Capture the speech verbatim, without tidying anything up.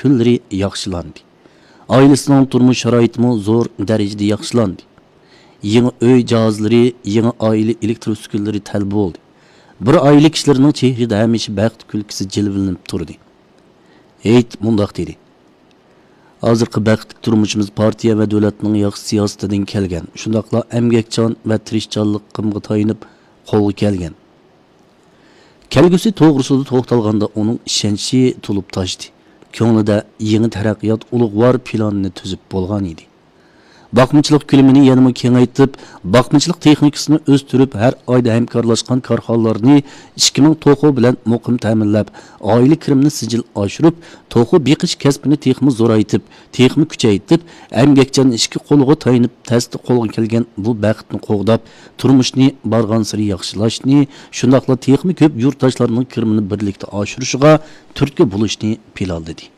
كۈنلىرى ياخشىلاندى. ئائىلىسىنىڭ تۇرمۇش شارائىتىمۇ زور دەرىجىدە ياخشىلاندى. يېڭى ئۆي جاھازلىرى، يېڭى ئائىلە ئېلېكتر ئۈسكۈنىلىرى تەل بولدى. بىر ئائىلە كىشىلىرىنىڭ چېھرىدە ھەمىشە بەخت كۈلكىسى جىلۋىلىنىپ تۇردى. ھېيت مۇنداق دېدى: «ھازىرقى بەختلىك تۇرمۇشىمىز پارتىيە ۋە دۆلەتنىڭ ياخشى سىياسىتىدىن كەلگەن، شۇنداقلا ئەمگەكچان ۋە تىرىشچانلىقىمغا تايىنىپ قولغا كەلگەن.» كەلگۈسى توغرىسىدا توختالغاندا ئۇنىڭ ئىشەنچى تولۇپ تاشتى. كۆڭلىدە يېڭى تەرەققىيات ئۇلۇغۋار پىلانىنى تۈزۈپ بولغان ئىدى. باقمىچىلىق كۆلىمىنى يەنىمۇ كېڭەيتىپ، باقمىچىلىق تېخنىكىسىنى ئۆستۈرۈپ، ھەر ئايدا ھەمكارلاشقان كارخانىلارنى ئىككى مىڭ توخۇ بىلەن مۇقىم تەمىنلەپ، ئائىلە كىرىمىنى سىجىل ئاشۇرۇپ، توخۇ بېقىش كەسپىنى تېخىمۇ زورايتىپ، تېخىمۇ كۈچەيتىپ، ئەمگەكچان ئىككى قولىغا تايىنىپ تەستە قولغا كەلگەن بۇ بەختنى قوغداپ، تۇرمۇشنى بارغانسېرى ياخشىلاشنى، شۇنداقلا تېخىمۇ كۆپ يۇرتداشلارنىڭ كىرىمىنى بىرلىكتە ئاشۇرۇشىغا تۈرتكە بولۇشنى پىلانلىدى.